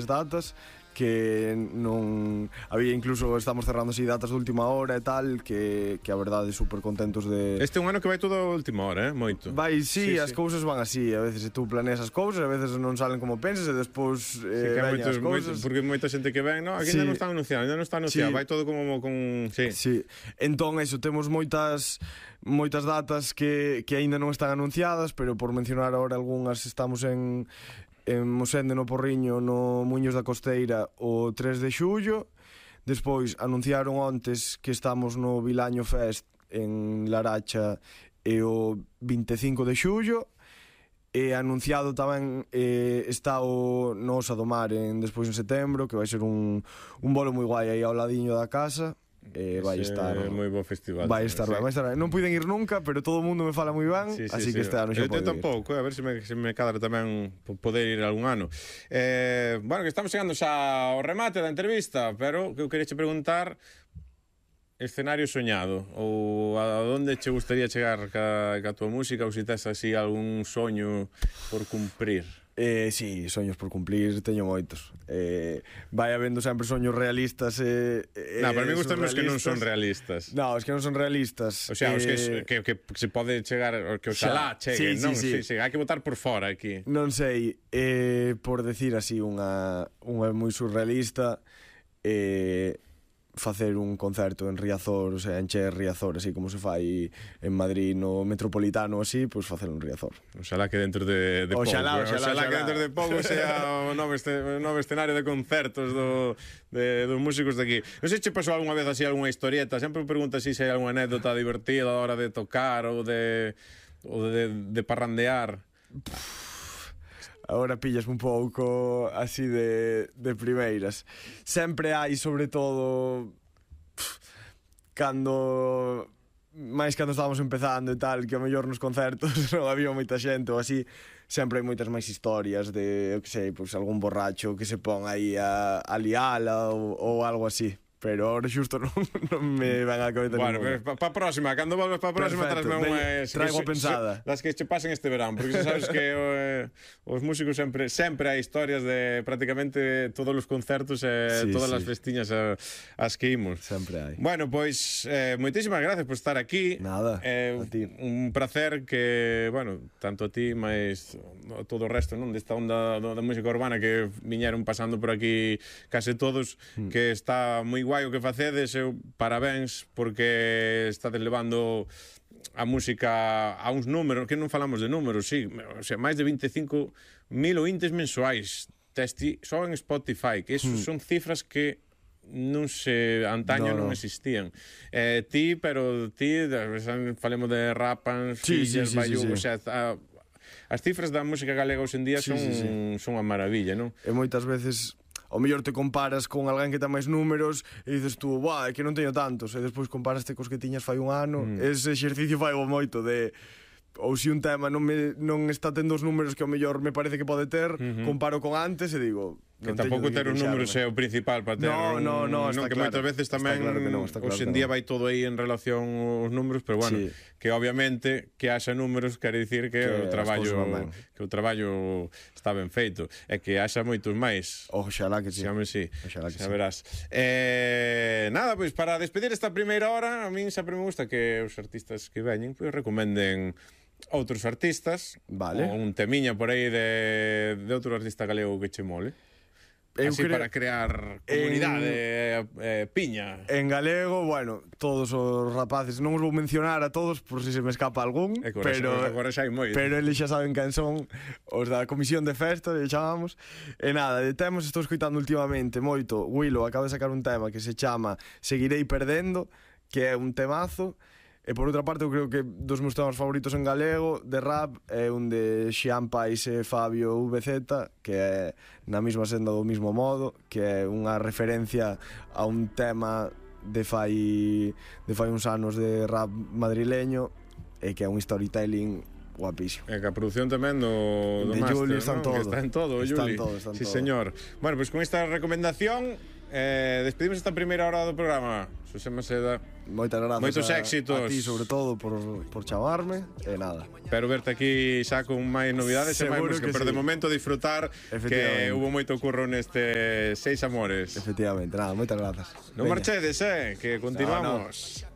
datas que non había, incluso estamos cerrando así datas de última hora e tal, que a verdade super contentos de... Este é un ano que vai todo a última hora, moito. Vai, sí, as cousas van así, a veces tú planeas as cousas, a veces non salen como pensas e despois veñen as cousas. Porque moita xente que ven, no, aquí ainda non está anunciado, vai todo como con... Sí. Entón, eso, temos moitas datas que aínda non están anunciadas, pero por mencionar agora algunhas, estamos en Mosende, no Porriño, no Muiños da Costeira, o 3 de xullo. Despois anunciaron ontes que estamos no Vilaño Fest en Laracha e o 25 de xullo. E anunciado tamén está o no Osa do Mar despois en setembro, que vai ser un bolo moi guai aí ao ladiño da casa. Vai estar moi bo festival. Vai estar ben. Non puiden ir nunca, pero todo o mundo me fala moi ben, así que este ano xa pode ir. Eu tampouco, a ver se me cadra tamén poder ir algún ano. Bueno, que estamos chegando xa ao remate da entrevista, pero que eu queria che preguntar, escenario soñado, ou a onde che gustaría chegar ca tua música, ou se tes así algún soño por cumprir? Sí, soños por cumplir teño moitos. Vai habendo sempre soños realistas para mí gustan os que non son realistas. No, os que non son realistas. O sea, os que se pode chegar, que oxalá cheguen, non? Sí, hai que botar por fora aquí. Non sei, por decir así unha moi surrealista, facer un concerto en Riazor, o sea, encher Riazor, así como se fai en Madrid no Metropolitano, así, pois facer un Riazor. Oxalá que dentro de pouco. Oxalá que dentro de pouco sea o novo escenario de concertos dos músicos de aquí. Non sei se che pasou algunha vez así algunha historieta, sempre me preguntas se hai algunha anécdota divertida a hora de tocar ou de parrandear. Agora pillas un pouco así de primeiras. Sempre hai, sobre todo, cando estábamos empezando e tal, que ao mellor nos concertos non había moita xente ou así, sempre hai moitas máis historias de, eu que sei, pues, algún borracho que se pon aí a liala ou algo así. Pero ahora xusto non me van a cabeza. Bueno, para a próxima, cando volves para a próxima, traigo unha pensada. Das que che pasen este verán, porque sabes que os músicos sempre hai historias de prácticamente todos os concertos e todas as festiñas as que imos. Sempre hai. Bueno, pois moitísimas gracias por estar aquí. Nada, a ti. Un placer que, bueno, tanto a ti, mais todo o resto, non, desta onda da música urbana que viñeron pasando por aquí case todos, que está moi guai o que facedes, parabéns, porque estades levando a música a uns números, que non falamos de números, sí, o sea, máis de 25.000 ointes mensuais só en Spotify, que eso son cifras que non se antaño non existían. Ti falemos de Rapans, Fillas, Bayou, o sea, as cifras da música galega hoxe en día son unha maravilla, non? E moitas veces ao mellor te comparas con alguén que ten máis números e dices tú, é que non teño tantos, e despois comparaste cos que tiñas fai un ano. Ese exercicio fai moito de, ou se un tema non está tendo os números que ao mellor me parece que pode ter, comparo con antes e digo, que tampouco ter os números é o principal para ter no, está que claro, moitas veces tamén hoxe en día vai todo aí en relación aos números, pero bueno, que obviamente que haxa números quere dicir que o traballo está ben feito e que haxa moitos máis. Oxalá que sí. Xa verás. Nada, pois para despedir esta primeira hora, a min sempre me gusta que os artistas que veñen pois recomenden outros artistas, ou un temiña por aí de outro artista galego que che mole. Así para crear comunidade, piña. En galego, bueno, todos os rapaces, non os vou mencionar a todos por si se me escapa algún, agora xa hai moi. Pero eles xa saben quen son, os da comisión de festa, lle chamamos. E nada, de temas estou escoitando últimamente moito. Willow acaba de sacar un tema que se chama Seguirei Perdendo, que é un temazo. E por outra parte, eu creo que dos meus temas favoritos en galego de rap é un de Xian Pais e Fabio VZ, que é na mesma senda do mismo modo, que é unha referencia a un tema de fai uns anos de rap madrileño e que é un storytelling guapísimo. E que a produción tamén do de Master, Juli, están todo. Está en todo, Juli. Sí, señor. Bueno, pois con esta recomendación Despedimos esta primeira hora do programa. Xosé Maceda, Moitas grazas moitos éxitos. a ti, sobre todo, por chamarme. E nada. Espero verte aquí xa con máis novidades e máis Seguro música, que pero sí. de momento disfrutar que hubo moito curro neste Seis Amores. Efectivamente, nada, moitas grazas. Non Veña. marchedes, que continuamos.